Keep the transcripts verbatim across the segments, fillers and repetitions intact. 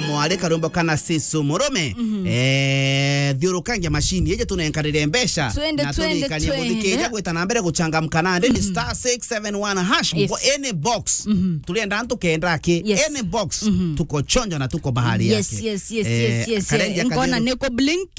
kamwari karumbo kana Sisu Murume. Mhm. Eh, thiurukangia machine iji tunenkarire mbeca. Twende, na twende, turikanie twende. Muthikiria gwita na mbere guchangamka nandi ni Mhm. star six seven one hash. Yes. Bo-, any box. Mhm. Turienda antu kenda aki. Yes. Any box. Mhm. Tuko chonjo na tuko bahari Yes, yake. Yes, yes, Eh, yes, yes, karendia eh. Nkona kathiro. Niko blink.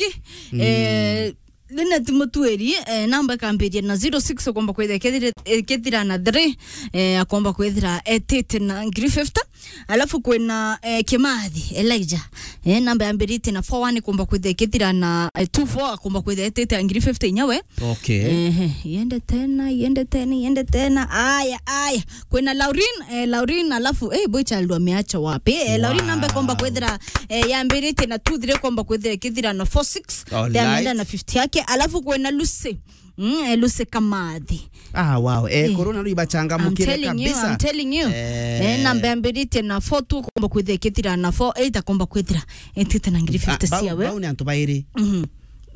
Mm. Eh, Linet Mutuiri, eh, namba ikambiria na zero six, ukomba kwithira ikethira, ikethira na three, eh, akomba kwithira etite na ngiri fifty. Alafu kwina, eh, Kimathi, Elijah. Eh, namba yambiritie na four one, ikomba kwithira ikethira na, eh, two four, akomba kwithira etite na ngiri fifty inyawe. Okay. Ehe, iende tena, iende tena, iende tena. Aya, aya. Kwina Laurin, eh, Laurin, alafu, eh, boy child wameacha wapi? Eh, Laurin namba ikomba Wow. kwithira, eh, yambiritie na two three, ikomba kwithira ikethira na four six. All Then right. Anaenda na fifty yake. Alafu kwina Lucy. Mm, eh, Lucy Kamathi. Ah, wow. Eh, Eh. Corona ribachangamukire I'm telling you, kabisa. I'm telling you. Eh. Eh, namba yambiritie na four two, komba kwithira ikethira na four eight, akomba kwithira etite na ngiri fifty Ah, bau, ciawe. Bau ni antu bairi. Mhm.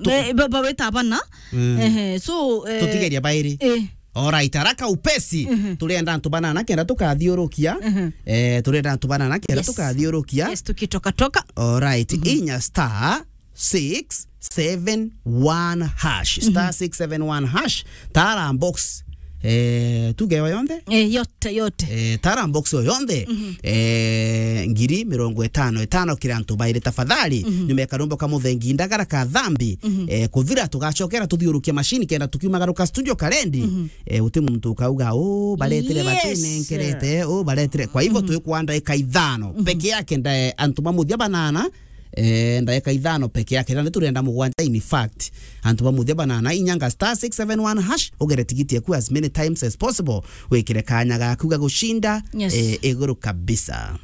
Tu- Eh, ba-, baweta abana. Mm. Ehe, so, eh, Tutigeria bairi. Eh. Alright, haraka upesi. Mhm. Turenda antu banana kenda tukathiurukia. Mhm. Eh, turenda antu banana kenda Yes. tukathiurukia. Yes, tukitoka toka. Alright, Mhm. inya star six seven one hash. Star Mhm. six seven one hash. Tara box. Eh, tuge yo yonthe? Eh, yote, yote. Eh, tara box yo yonthe. Mhm. Eh, ngiri mirongo itano itano kira antu bairi tafadhali. Mhm. Nyuma ya karumbo ka muthengi ndagara ka thambi. Mhm. Eh, kuthira tugacokera tuthiurukia machine kenda tukiumagaruka studio karendi. Mhm. Eh, uti muntu ukauga, "Oh, baretire Yes. batinenkerete, oh, baretire." Kwa hivyo Mhm. twikwa ndaika ithano. Mhm. Peke yake ndae antu ba muthia banana, eh, ndaika ithano peke yake. Na ni turenda mugwanja, in fact. Antu ba muthia banana, inyanga star six seven one hash, ugere tigiti yaku as many times as possible. Wikire kanya gaku ga gucinda, Yes. eh, iguru kabisa.